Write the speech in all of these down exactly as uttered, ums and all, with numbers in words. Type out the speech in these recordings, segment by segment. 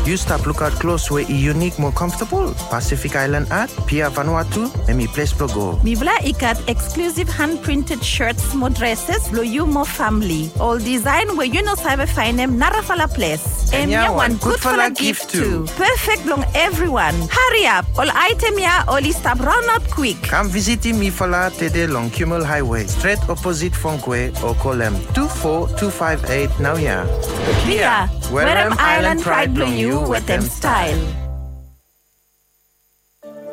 Yu stap lukaot klos we i yunik mo comfortable? Pacific Island Art, Pia Vanuatu, hemi ples blo go. Mifala i gat exclusive hand printed shirts mo dresses blo yu mo famili. Ol design we yu no save faenem narafala ples. Hemia wan gudfala gift tu. Perfect blong everyone. Hariap, ol item ya oli stap raonaot kwik. Kam visitim mifala tede long Kimmel Highway, stret oposit Fongkwe, o kolem tu fo tu faef eit naoia. Pia, werem island pride blong yu wetem style.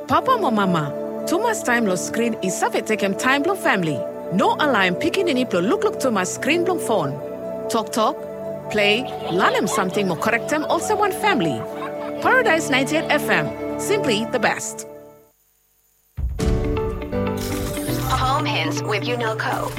Papa mo mama, tumas taem long skrin i save tekem taem blong famili. No alaem pikinini blong lukluk tumas skrin blong fon. Toktok, plei, lanem samting mo korektem olsem wan famili. Paradise ninety-eight F M, simply the best. Home Hints with Unelco.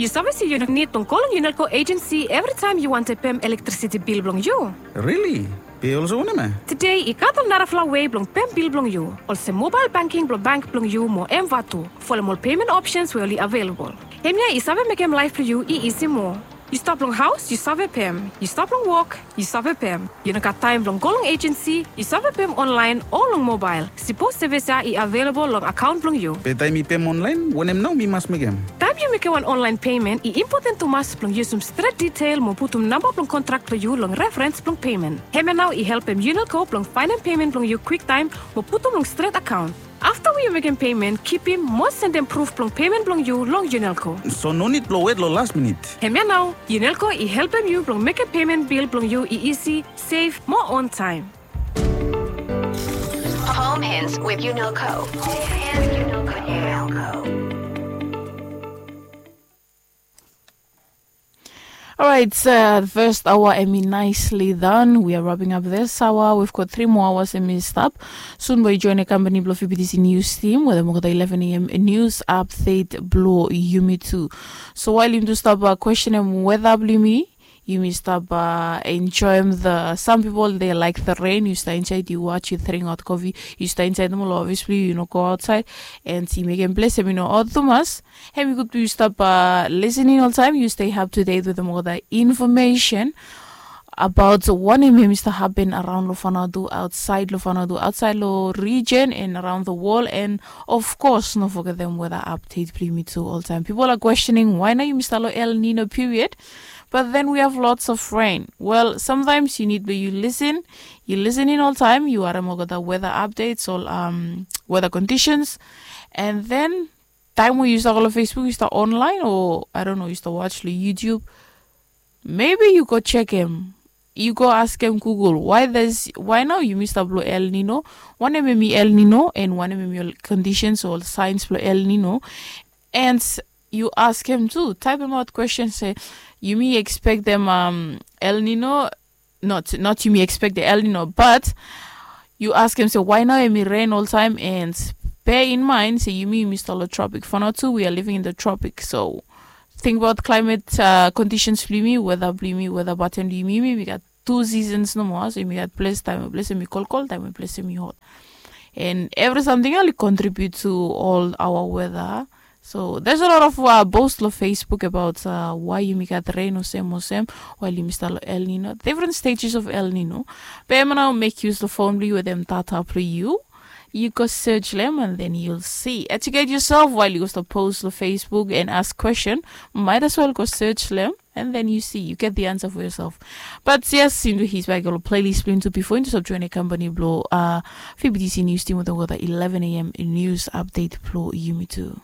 Yu save se yu nid blong go long Unelco agency evritaem yu wantem pem elektrisiti bil blong yu. Rili? Be olsem wanem ya? Tede i gat ol narafala wei blong pem bil blong yu, olsem mobael banking blong bank blong yu mo M Vatu. Folem ol payment options we oli available. Hemia i save mekem laef blong yu i isi moa. Yu stap long haos, yu save pem. Yu stap long wok, yu save pem. Yu no gat taem blong go long agency, yu save pem online o long mobael. Sipos sevis ya i available long akaon blong yu. Be taem mi pem online, wanem nao mi mas mekem? Taem yu mekem wan online payment, i impoten tumas blong yusum stret detael mo putum namba blong kontrak blong yu long referens blong payment. Hemia nao i helpem Unelco blong faenem payment blong yu kwiktaem mo putum long stret akaon. Afta we yu mekem payment, kipim mo sendem pruf blong payment blong yu long Unelco. So no nid blong wet long las minit. Hemia nao, Unelco i helpem yu blong mekem payment bil blong yu i isi, sef mo on taem. Home Hints with Unelco. All right, uh, the first hour hemi nicely done. We are wrapping up this hour. We've got three more hours hemi stap. Soon bae yu join the company blong V B T C News team wetem olgeta eleven a.m. news update blong yumi tu. So while yumi tu stap, uh, questionem weather blong yumi, yumi stap, uh, enjoyem the, some people they like the rain. Yu stap insaed, yu watch, yu dringaot kofi, yu stap insaed nomo long office blong yu, yu no go aotsaed. And i mekem ples hemi no hot tumas. Hemi gud blong yu stap, uh, listening oltaem. Yu stay up to date wetem olgeta information about wanem hemi stap hapen araon long Vanuatu, aotsaed long Vanuatu, aotsaed long region and around the world. And of course, no fogetem weather update blong yumi tu oltaem. People are questioning why nao yumi stap long El Nino period, but then we have lots of rain. Well, sometimes yu nid blong yu listen, yu listening oltaem, yu harem olgeta weather updates, ol, um, weather conditions, and then taem we yu stap go long Facebook, yu stap online, o I don't know, yu stap watch long YouTube, maybe yu go jekem, yu go askem Google, why there's, why nao yumi stap long El Nino, wanem hemi El Nino, and wanem hemi ol conditions o ol signs blong El Nino. And yu askem tu, taepemaot kwestin se, yumi ekspektem, um, El Nino, not, not yumi ekspektem El Nino, but yu askem se why nao hemi ren oltaem, and bear in mind se yumi, yumi stap long tropic. For now tu, we are living in the tropic. So tingbaot climate, uh, conditions blong yumi, weather blong yumi, weather pattern blong yumi, yumi gat tu seasons nomo. So yumi gat ples, taem we ples hemi kolkol, taem we ples hemi hot. And evri samting ya oli contribute to all our weather. So there's a lot of, uh, post long Facebook about, uh, why yumi gat ren olsem olsem while yumi stap long El Nino, different stages of El Nino. Be hemia nao, mek yus long fon blong yu wetem data blong yu. Yu go search long hem and then you'll see. Educate yourself while yu go stap post long Facebook and ask kwestin. Might as well go search long hem. And then you see, you get the answer for yourself. But yes, yumi tu hit back ol playlist blong yumi tu bifo yumi tu stap join the company blong, uh, V B T C News team wetem olgeta eleven a.m. news update blong yumi tu.